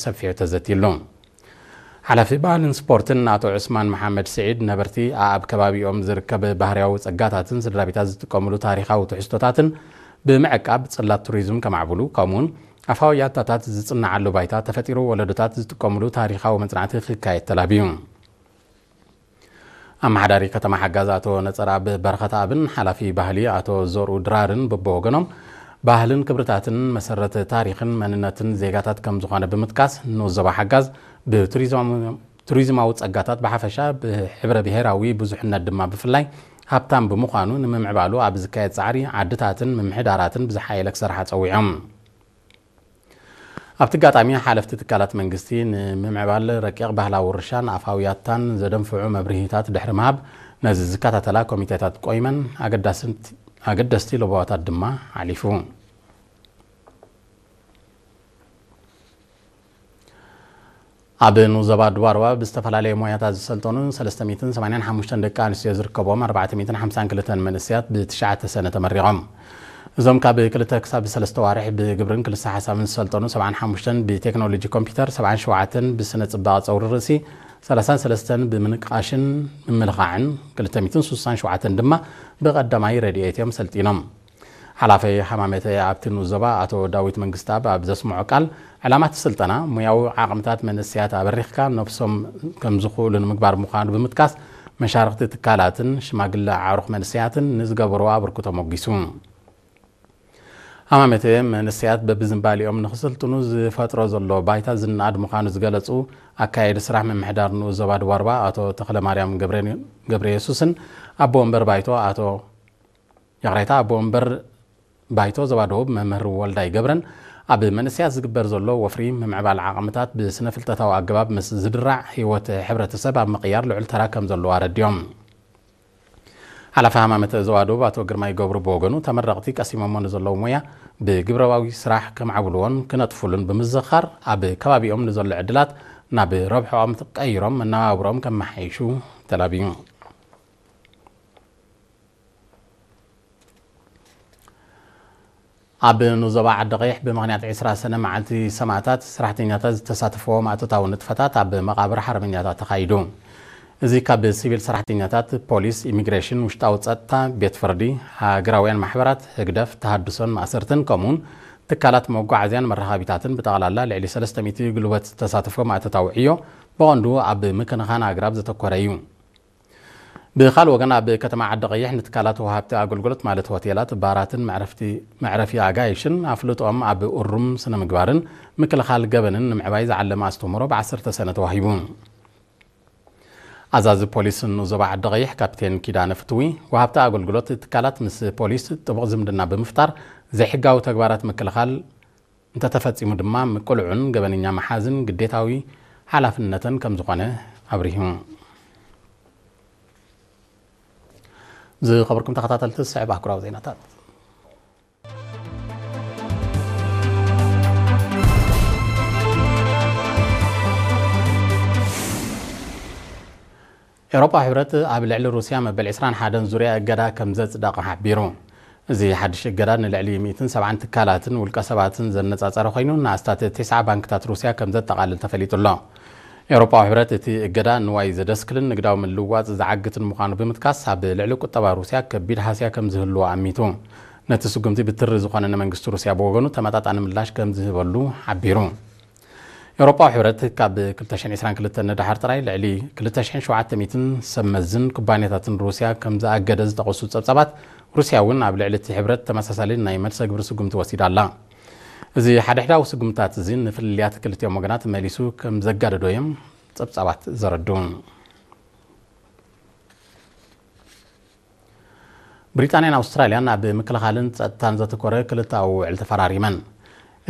ሰፊሑ ተዘትይሉ። ሓላፊ ባህልን ስፖርትን ኣቶ ዑስማን መሓመድ ስዒድ፣ ነበርቲ ኣብ ከባቢኦም ዝርከብ ባህርያዊ ጸጋታትን ስድራ ቤታት ዝጥቀምሉ ታሪኻዊ ትሕዝቶታትን ብምዕቃብ ጽላት ቱሪዝም ከማዕብሉ፣ ከምኡውን ኣፋዊ ያታታት ዝጽንዓሉ ባይታ ተፈጢሩ ወለዶታት ዝጥቀምሉ ታሪኻዊ መጽናዕቲ ክካየድ ተላብዩ። ኣመሓዳሪ ከተማ ሓጋዝ ኣቶ ነጸርኣብ በረኸተኣብን ሓላፊ ባህሊ ኣቶ ዘርኡ ድራርን በብወገኖም፣ ባህልን ክብርታትን መሰረት ታሪኽን መንነትን ዜጋታት ከም ዝኾነ ብምጥቃስ፣ ንኡስ ዞባ ሓጋዝ ብቱሪዝም-፣ ቱሪዝማዊ ጸጋታት ብሓፈሻ፣ ብሕብረ ብሄራዊ ብዙሕነት ድማ ብፍላይ ሃብታም ብምዃኑ፣ ንምምዕባሉ ኣብ ዝካየድ ጻዕሪ ዓድታትን ምምሕዳራትን ብዝሓየለ ክሰርሓ ጸዊዖም። ኣብቲ ኣጋጣሚ፣ ሓለፍቲ ትካላት መንግስቲ ንምምዕባል ረቂቕ ባህላዊ ውርሻን ኣፋውያታን ዘደንፍዑ መብርሂታት ድሕሪ ምሃብ፣ ነዚ ዝከታተላ ኮሚቴታት ቆይመን ኣገዳስት-፣ ኣገደስቲ ለበዋታት ድማ ሓሊፉ። ኣብ ንኡስ ዞባ ድባርዋ ብዝተፈላለየ ሞያታት ዝሰልጠኑ ሰለስተ ሚእትን ሰማንያን ሓሙሽተን ደቂ ኣንስትዮ ዝርከብዎም ኣርባዕተ ሚእትን ሓምሳን ክልተን መንእሰያት ብትሽዓተ ሰነ ተመሪቖም። እዞም ካብ ክልተ ክሳብ ሰለስተ ዋርሕ ብግብርን ክልሰ ሓሳብን ዝሰልጠኑ ሰብዓን ሓሙሽተን ብቴክኖሎጂ ኮምፒውተር፣ ሰብዓን ሸውዓተን ብስነ ጽባቐ ጸጉሪ ርእሲ፣ ሰላሳን ሰለስተን ብምንቃሽን ምምልኻዕን፣ ክልተ ሚእትን ስሳን ሸውዓተን ድማ ብቐዳማይ ረድኤት እዮም ሰልጢኖም። ሓላፊ ሃማመተ ኣብቲ ንኡስ ዞባ ኣቶ ዳዊት መንግስተኣብ ኣብ ዘስምዖ ቃል፣ ዕላማ እቲ ስልጠና ሞያዊ ዓቕምታት መንእሰያት ኣበሪኽካ ነብሶም ከም ዝኽእሉ ንምግባር ምዃኑ ብምጥቃስ፣ መሻርኽቲ ትካላትን ሽማግለ ኣዕሩኽ መንእሰያትን ንዝገበርዎ ኣበርክቶ ሞጊሱ። ሃማመተ፣ መንእሰያት በብዝንባሊኦም ንኽስልጥኑ ዝፈጥሮ ዘሎ ባይታ ዝነኣድ ምዃኑ ዝገለጹ ኣካያዲ ስራሕ ምምሕዳር ንኡስ ዞባ ደቡብ ኣርባ ኣቶ ተኽለማርያም ገብረ-፣ ገብረ የሱስን ኣቦ ወንበር ባይቶ ኣቶ፣ ይቕሬታ፣ ኣቦ ወንበር ባይቶ ዞባ ደቡብ መምህር ወልዳይ ገብረን፣ ኣብ መንእሰያት ዝግበር ዘሎ ወፍሪ ምምዕባል ዓቕምታት ብስነ ፍልጠታዊ ኣገባብ ምስ ዝድራዕ፣ ህይወት ሕብረተሰብ ኣብ ምቕያር ልዑል ተራ ከም ዘለዎ ኣረዲኦም። ሓላፊ ሃማመተ ዞባ ደቡብ ኣቶ ግርማይ ገብሩ ብወገኑ፣ ተመረቕቲ ቀሲሞሞ ንዘለዉ ሞያ ብግብረባዊ ስራሕ ከማዕብልዎን ክነጥፉሉን ብምዝኽኻር፣ ኣብ ከባቢኦም ንዘሎ ዕድላት ናብ ረብሕኦም ቀይሮም መነባብሮኦም ከመሓይሹ ተላብዩ። ኣብ ንኡስ ዞባ ዓዲ ቀይሕ ብምኽንያት ዕስራ ሰነ መዓልቲ ሰማእታት ሰራሕተኛታት ዝተሳተፍዎ ማእቶታዊ ንጥፈታት ኣብ መቓብር ሓርበኛታት ተኻይዱ። እዚ ካብ ሲቪል ሰራሕተኛታት፣ ፖሊስ፣ ኢሚግሬሽን፣ ውሽጣዊ ጸጥታ፣ ቤት ፍርዲ፣ ሃገራውያን ማሕበራት፣ ህግደፍ፣ ተሃድሶን ማእሰርትን፣ ከምኡውን ትካላት መጓዓዝያን መራኸቢታትን ብጠቕላላ ልዕሊ ሰለስተ ሚእቲ ጉልበት ዝተሳተፎ ማእቶታዊ ዕዮ ብቐንዱ ኣብ ምክንኻን ኣግራብ ዘተኮረ እዩ። ብኻልእ ወገን፣ ኣብ ከተማ ዓዲ ቀይሕ ንትካላት ወሃብቲ ኣገልግሎት ማለት ሆቴላት፣ ባራትን መዕረፍቲ፣ መዕረፊ ኣጋይሽን ኣፍልጦኦም ኣብ እሩም ስነ ምግባርን ምክልኻል ገበንን ንምዕባይ ዝዓለመ ኣስተምህሮ ብዓሰርተ ሰነ ተዋሂቡ። ኣዛዚ ፖሊስ ንኡስ ዞባ ዓዲ ቀይሕ ካፕቴን ኪዳነ ፍትዊ፣ ወሃብቲ ኣገልግሎት ትካላት ምስ ፖሊስ ጥቡቕ ዝምድና ብምፍጣር ዘይሕጋዊ ተግባራት ምክልኻል እንተተፈጺሙ ድማ ምቅልዑን ገበነኛ መሓዝን ግዴታዊ ሓላፍነተን ከም ዝኾነ ኣብሪሁ። ዝኸበርኩም ተኸታተልቲ፣ ዝስዕብ ኣህጉራዊ ዜናታት። ኤውሮጳዊ ሕብረት ኣብ ልዕሊ ሩስያ መበል ዕስራን ሓደን ዙርያ እገዳ ከም ዘጽደቐ ሓቢሩ። እዚ ሓድሽ እገዳ ንልዕሊ ሚእትን ሰብዓን ትካላትን ውልቀ ሰባትን ዘነጻጸረ ኮይኑ፣ ንኣስታት ተስዓ ባንክታት ሩስያ ከም ዘጠቓልል ተፈሊጡ ኣሎ። ኤውሮጳዊ ሕብረት እቲ እገዳ ንዋይ ዘደስክልን ንግዳዊ ምልውዋጥ ዝዓግትን ምዃኑ ብምጥቃስ፣ ኣብ ልዕሊ ቁጠባ ሩስያ ከቢድ ሃስያ ከም ዝህልዎ ኣሚቱ። ነቲ ስጉምቲ ብትሪ ዝኾነ ንመንግስቲ ሩስያ ብወገኑ ተመጣጣኒ ምላሽ ከም ዝህበሉ ሓቢሩ። ኤውሮጳዊ ሕብረት ካብ ክልተ ሽሕን ዕስራን ክልተን ንደሓር ጥራይ ልዕሊ ክልተ ሽሕን ሸውዓተ ሚእትን ሰብ መዝን ኩባንያታትን ሩስያ ከም ዝኣገደ ዝጠቐሱ ጸብጻባት፣ ሩስያ እውን ኣብ ልዕሊ እቲ ሕብረት ተመሳሳሊ ናይ መልሰ ግብሪ ስጉምቲ ወሲዳ ኣላ። እዚ ሓድሕዳዊ ስጉምትታት እዚ ንፍልልያት ክልቲኦም ወገናት መሊሱ ከም ዘጋደዶ እዮም ጸብጻባት ዘረድኡ። ብሪጣንያን ኣውስትራልያን ኣብ ምክልኻልን ጸጥታን ዘተኮረ ክልተኣዊ ውዕል ተፈራሪመን።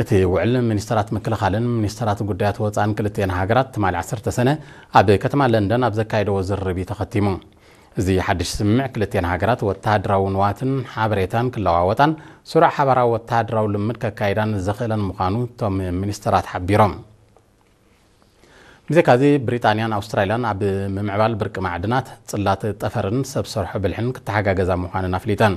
እቲ ውዕል ሚኒስተራት ምክልኻልን ሚኒስተራት ጉዳያት ወጻእን ክልቲኤን ሃገራት ትማሊ ዓሰርተ ሰነ ኣብ ከተማ ለንደን ኣብ ዘካየደዎ ዝርርብ እዩ ተኸቲሙ። እዚ ሓድሽ ስምምዕ ክልቲኤን ሃገራት ወተሃደራዊ ንዋትን ሓበሬታን ክለዋወጣን ስሩዕ ሓባራዊ ወተሃደራዊ ልምምድ ከካይዳን ዘኽእለን ምዃኑ እቶም ሚኒስተራት ሓቢሮም። ብዘይካዚ፣ ብሪጣንያን ኣውስትራልያን ኣብ ምምዕባል ብርቂ ማዕድናት፣ ጽላት ጠፈርን ሰብ ሰርሖ ብልሕን ክተሓጋገዛ ምዃነን ኣፍሊጠን።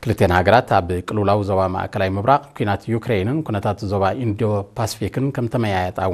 ክልተን ሃገራት ኣብ ቅልውላው ዞባ ማእከላይ ምብራቕ፣ ኲናት ዩክሬንን ኩነታት ዞባ ኢንዶ ፓስፊክን ከም ተመያየጣ እውን